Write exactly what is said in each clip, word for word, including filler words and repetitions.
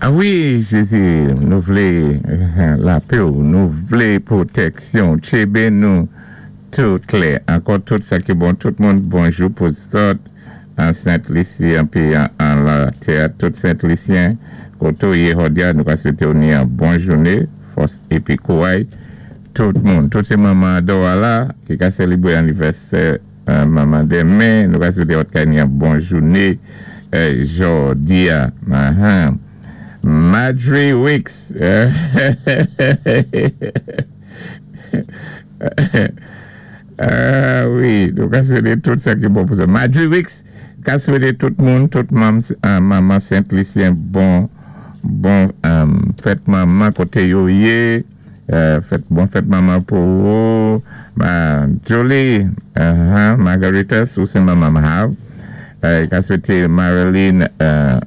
A wi, Jézi, nou vlé lapè, nou vlé pwotèksyon. Tjébé nou tout klè. Ankò tout sa ki bon, tout moun, bonjou pou zòt an Sent Lisi, an pi an, an latè, tout Sent Lisyen, koté ou yé jòdi-a, nou ka swété ou ni an bon jouné, fòs épi kouway, tout moun, tout sé manman dò la, ki ka sélébwé anivèsè euh, manman denmen, nou ka swété zòt ka ni an bon jouné, euh, jòdi-a. Uh-huh. Marjorie Wicks. Ah wi, nou ka swété tout sa ki bon pou sa. Marjorie Wicks, ka swété tout moun, tout mam, euh, manman Sent Lisyen bon, bon euh, fèt manman koté yo yé, euh, fèt, bon fèt manman pou ou, ma, Jolie, uh-huh, Margarita, sou sé manman Mahav, euh, ka swété Marilyn euh,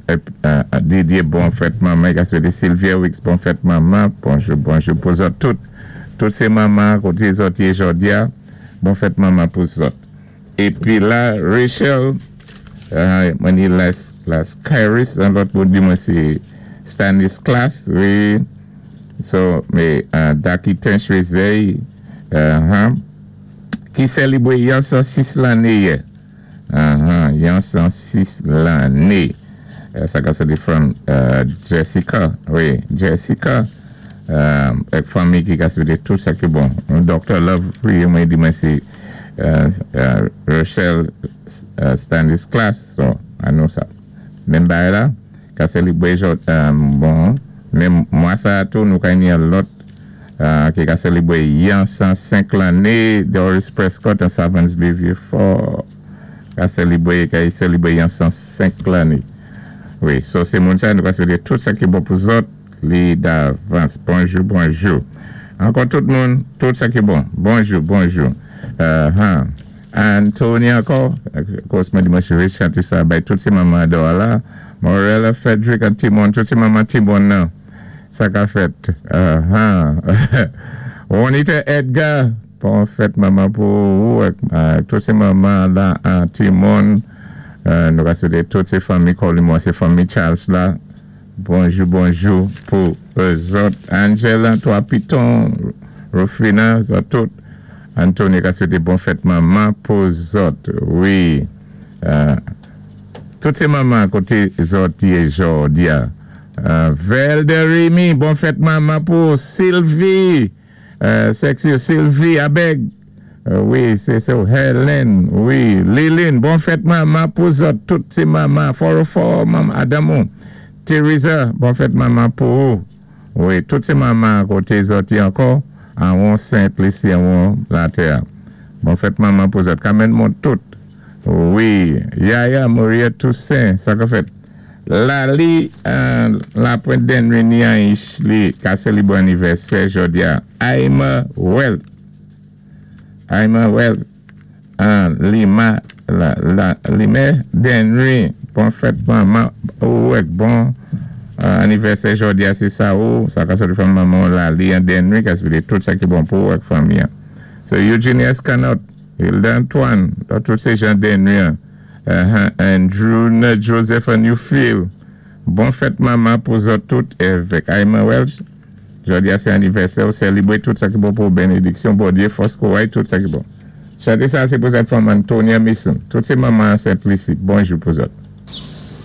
euh, Didier bon fèt manman, ka swété Sylvia Wicks bon fèt manman, bonjou, bonjou pou zòt tout, tout sé manman koté zòt yé jòdi-a, bon fèt manman pou zòt. Épi la, Rachel, euh, mwen ni las, las Kairis, an lòt moun di mwen sé Stanislas, wi, so, mé, uh, Daki Tenchwezey, uh-huh, ki sélibwé yon san sis lanné yè. Uh-huh, yon san sis lanné. Uh, sa ka soti from uh, Jessica, wi, Jessica, uh, èk fanmi ki ka swété tout sa ki bon. Doctor Love, wi, mwen di mwen sé uh, uh, Rochelle uh, Stanislas, so, anou sa. Menm bagay la, ka sélibwé jòd, um, bon, men mwa sa tou nou ka ni an lòt uh, ki ka sélibwé yon san senk lanné, Doris Prescott an Savants Bay Vieux Fort, ka sélibwé, ka sélibwé yon san senk lanné. Wi, so sé moun sa, nou ka swété tout sa ki bon pou zòt, li davans. Bonjou, bonjou. Ankò tout moun, tout sa ki bon. Bonjou, bonjou. Uh, huh. Anthony ankò, kòs mwen di mwen chè chanté sa bay tout sé manman dò la. Morella Frederick an Timon, tout sé manman Timon nan. Sa ka fèt. Uh, huh. Juanita Edgar, bon fèt manman pou ou, uh, tout sé manman la an Timon. Uh, nou ka swété tout sé fanmi Colimon, sé fanmi Charles la. Bonjou, bonjou pou zòt. Angela, Trois Piton, Rufina, zòt tout. Anthony ka swété bon fèt manman pou zòt. Wi. Uh, tout sé manman koté zòt yé jòdi-a. Uh, Velderimi, bon fèt manman pou Sylvie. Uh, Sexy Sylvie Abeg. Uh, wi, sé sa. Helen, wi. Lilin, bon fèt manman pou zòt. Tout sé manman. Four oh four, manman Adamou. Teresa, bon fèt manman pou ou. Wi, tout sé manman koté zòt yé ankò. An Sent Lisi, an latè. Bon fèt manman pou zòt. Kamen moun tout. Wi, Yaya, Maria Toussaint, sa ka fèt. Lali, uh, la Pointe d'Henry ni an Ishli, ka sélibwé anivèsè jòdi-a. Aima Wells. Aima Wells. An Lima, la, la, Lima d'Henry, bon fèt manman, ou èk bon uh, anivèsè jòdi-a sé sa ou, sa ka soti fanm manman Lali an d'Henry, ka swété tout sa ki bon pou èk fanmi. So Eugenia Scanot, Hilda Antoine, tout sé jan d'Henry an. Uh, Andrew Joseph and Newfield. Bon fèt manman pou zòt tout avèk Aima Welch. Jòdi-a sé anivèsè ou sélibwé tout sa ki bon pou bénédiksyon, Bondyé, fòs kouway, tout sa ki bon. Chanté sa sé pou zòt fanm Antonia Mason. Tout sé manman Sent Lisi. Bonjou pou zòt.